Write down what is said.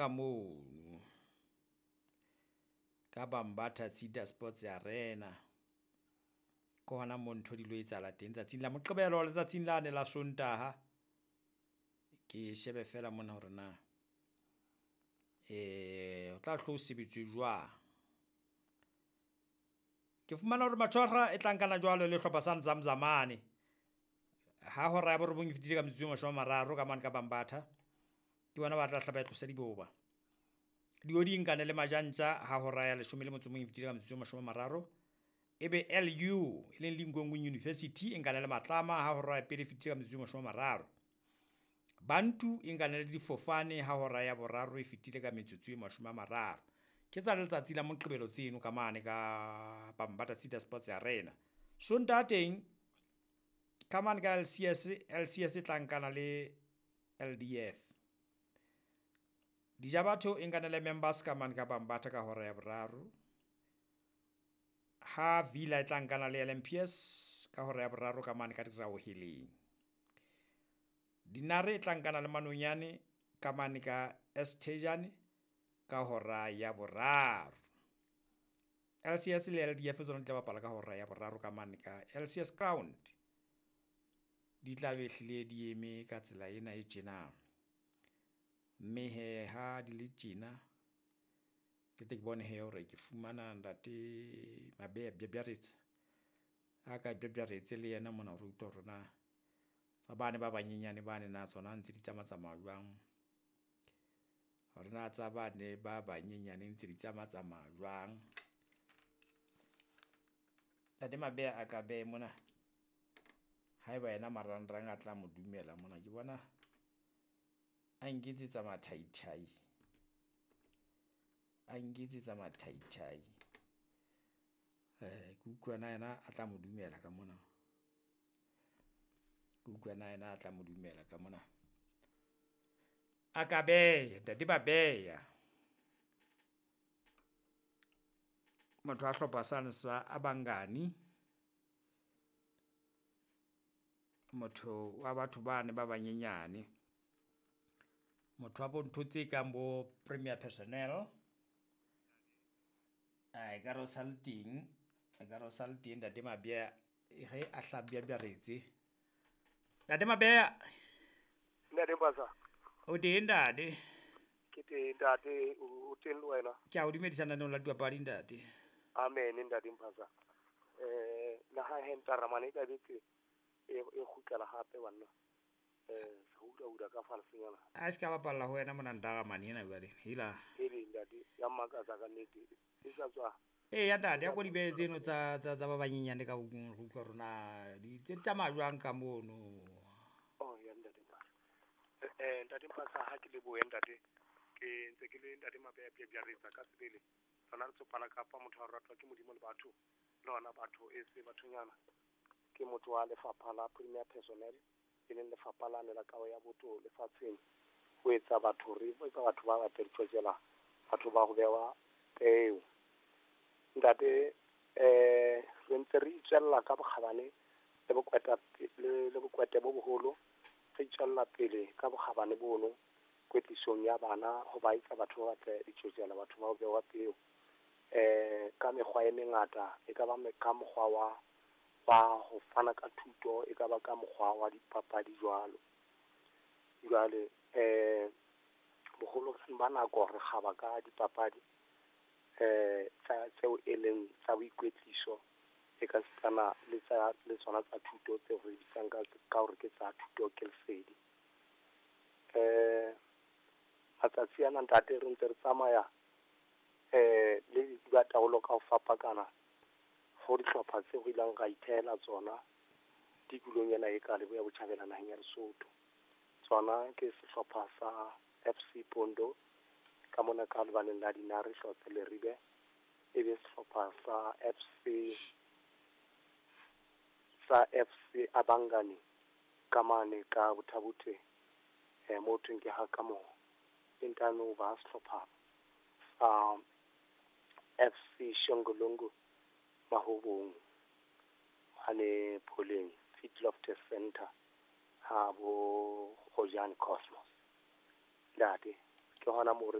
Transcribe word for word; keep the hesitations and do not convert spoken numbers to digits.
ka mono ka Bambatha Cedar Sports Arena. Ke hona moo ntho di lo etsahala teng tsatsing la Moqebelo letsatsing lane la Sontaha. Ke shebe feela mona hore na ho tla hlo sebetswe jwang. Ke fumana hore Matshwara e tla nkana jwalo le hlopha sa Nzamzamane ha hora ya borobong e fetile ka metsotso e mashome a mararo ka mane ka Bambatha. Ke bona ba tla hlaba e tlose diboba. Diodi nkane le Majantja ha hora ya leshome le motso o mong e fetile ka metsotso e mashome a mararo. Ebe L U e leng Linkonkweng University e nkane le Matlama ha hora ya pele e fetile ka metsotso e mashome a mararo. Bantu e nkane le Difofane ha hora ya boraro e fetile ka metsotso e mashome a mararo. Ke tsa letsatsi la Moqebelo tseno ka mane ka Bambatha Cedar Sports Arena. Sontaha teng ka mane ka L C S, L C S e tla nkana le L D F. Dijabatho e nkane le Members ka mane ka Bambatha ka hora ya boraro. Ha Villa e tla nkana le L M P S ka hora ya boraro ka mane ka Diraoheleng. Dinare e tla nkana le Manonyane ka mane ka Estejane ka hora ya boraro. L C S le L D F tsona di tla bapala ka hora ya boraro ka mane ka L C S Ground. Di tla be hlile di eme ka tsela ena e tjena. Mme hee ha di le tjena, ke tle ke bone hee hore ke fumana ntate Mabeya Bjabjaretsa. A ka bjabjaretse le yena mona re utlwa hore na tsa bane ba banyenyane bane na tsona ntse di tsamaya tsamaya jwang. Hore na tsa bane ba banyenyane ntse di tsamaya tsamaya jwang. Ntate Mabeya a ka behe mona. Haeba yena marangrang a tla mo dumela mona, ke bona a nketsetsa mathaithai, a nketsetsa mathaithai. Ke utlwa na yena a tla mo dumela ka mona. Ke utlwa na yena a tla mo dumela ka mona. A ka beha ntate Mabeya. Motho a hlopha sane sa Abangani. Motho wa batho bane ba banyenyane. Motho wa bo ntho tse kang bo Premier Personnel. Ekare o sa le teng, ekare o sa le teng ntate Mabeya ge a hla bjabjaretse. Ntate Mabeya. Ntate Mpasa. O teng ntate? Ke teng ntate, o teng le wena? Ke a o dumedisa lenaneong la dipapadi ntate. Amen ntate Mpasa. Eh la ha he ntaramane e kabetse e e kgutlela hape banna. Eh se hula hula ka falsenyana. A se ka bapalla ho wena mona ntaramane ena jwale. Hela. Hele ntate, ya mmakatsa ka nnete. E sa tswa. Ee ya ntate, ya ko di behe tseno tsa tsa tsa ba banyenyane ka re utlwa hore na di tse di tsamaya jwang ka mono. Oh ya ntate Mpasa. Eh ntate Mpasa ha ke lebohe ntate. Ke ntse ke le ntate Mabeya Bjabjaretsa ka sebele. Tsona re tsopala kapa motho a ratwa ke Modimo le batho. Le hona batho e se bathonyana. Ke motho wa lefapha la Premier Personnel, e leng lefapha lane la kaho ya botho lefatsheng. Ho etsa batho re etsa batho ba batle ditjotjela, batho ba ho bewa peo. Ntate eh re ntse re itswella ka bokgabane le bokweta le le bokwete bo boholo, re itswella pele ka bokgabane bono kwetlisong ya bana ho ba etsa batho ba batle ditjotjela, batho ba ho bewa peo. Eh ka mekgwa e mengata, e ka ba ka mokgwa wa wa ho fana ka thuto, e ka ba ka mokgwa wa dipapadi jwalo. Jwale eh boholo ba nako re kgaba ka dipapadi eh tsa tseo e leng tsa boikwetliso, e ka sitana le tsa le tsona tsa thuto tseo re bitsang ka ka hore ke tsa thuto ke lesedi. Eh matsatsi ana ntate re ntse re tsamaya eh le dibataolo ka ho fapakana ho dihlopha tseo re ileng ra ithehela tsona tikolong ena e ka Leboya Botjhabela naheng ya Lesotho. Tsona ke sehlopha sa F C Pondo ka mona ka lebaleng la Dinare Hlotse Leribe, ebe sehlopha sa F C sa F C Abangani ka mane ka Botha-Bothe, eh mo thweng ke ha ka moo e ntano ba sehlopha sa F C Shongololo Mahobong mane Pholeng Feedlot Center ha bo Gojane Cosmos. Ntate ke hona moo re